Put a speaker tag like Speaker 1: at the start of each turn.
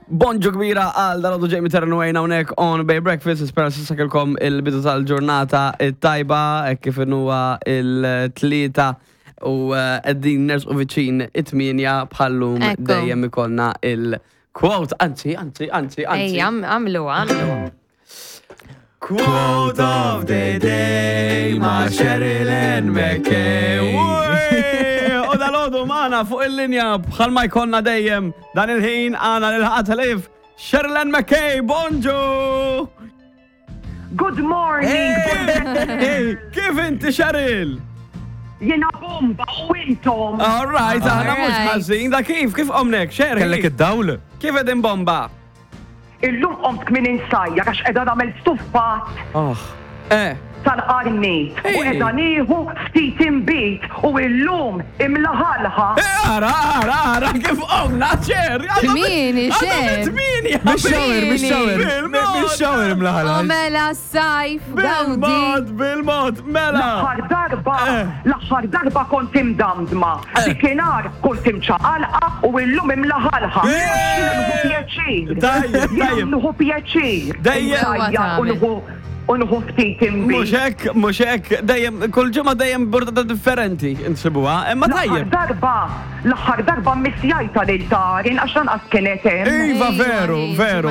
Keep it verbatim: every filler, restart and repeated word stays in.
Speaker 1: Bonġu kbira għal dalgħodu, Jamie Terran Wayne hawnhekk on Bay Breakfast. Nispera s'issa kellkom il-bidu tal-ġurnata it-tajba, hekk kif huwa il-tlieta u eh, qegħdin nersqu viċin it-tmienja, bħallum
Speaker 2: Ekku.
Speaker 1: dejjem ikollna il-quote, anzi, anzi, anzi, anzi.
Speaker 2: Ej, għamlu, għamlu.
Speaker 1: Quote of the day ma' Sherilyn McKay. U dalgħodu magħna fuq il-linja, bħalma jkollna dejjem dan il-ħin, għandna l-ħatalif Sherilyn McKay, bonġu!
Speaker 3: Good morning.
Speaker 1: Hey, kif inti, Cheryl?
Speaker 3: Jiena bomba, u intom?
Speaker 1: All right, aħna mhux
Speaker 2: Alright.
Speaker 1: ħażin, da kif, kif qomnek, Cheryl?
Speaker 4: Kellek id-dawl?
Speaker 1: Kif qegħdin, bomba?
Speaker 3: Illum qomt kmieni insajjar għax qiegħda nagħmel stuffat
Speaker 1: Oh. Eh,
Speaker 3: tal-qarnit u
Speaker 1: Hey.
Speaker 3: qiegħda nieħu ftit imbit u illum imlaħalħa.
Speaker 1: Eh, ara, ara, ara, kif qomna, Cher?
Speaker 2: Kmieni, Cher.
Speaker 1: Tmienja.
Speaker 4: Mix-shower, mix-shower.
Speaker 1: Bil-mod.
Speaker 4: Mix-shower imlaħalħa.
Speaker 2: U mela sajf, gawdi.
Speaker 1: Bil-mod, bil-mod, mela.
Speaker 3: L-aħħar darba,
Speaker 1: Eh.
Speaker 3: l-aħħar darba kont imdamdma. Dikinhar kont imċaqalqa u illum imlaħalħa.
Speaker 1: Eh.
Speaker 3: Jiena nieħu pjaċir.
Speaker 1: Tajjeb,
Speaker 3: Jiena
Speaker 1: tajjeb.
Speaker 3: nieħu pjaċir.
Speaker 1: Dejjem.
Speaker 3: Insajjar u nieħu u nieħu ftit imbit.
Speaker 1: Mhux hekk, mhux hekk, dejjem, kull ġimgħa dejjem burdata differenti insibuha, imma
Speaker 3: L-aħħar
Speaker 1: tajjeb.
Speaker 3: darba, l-aħħar darba missjajta lil Tarin għax lanqas kienet hemm.
Speaker 1: Iva, veru,
Speaker 2: Iva,
Speaker 1: veru.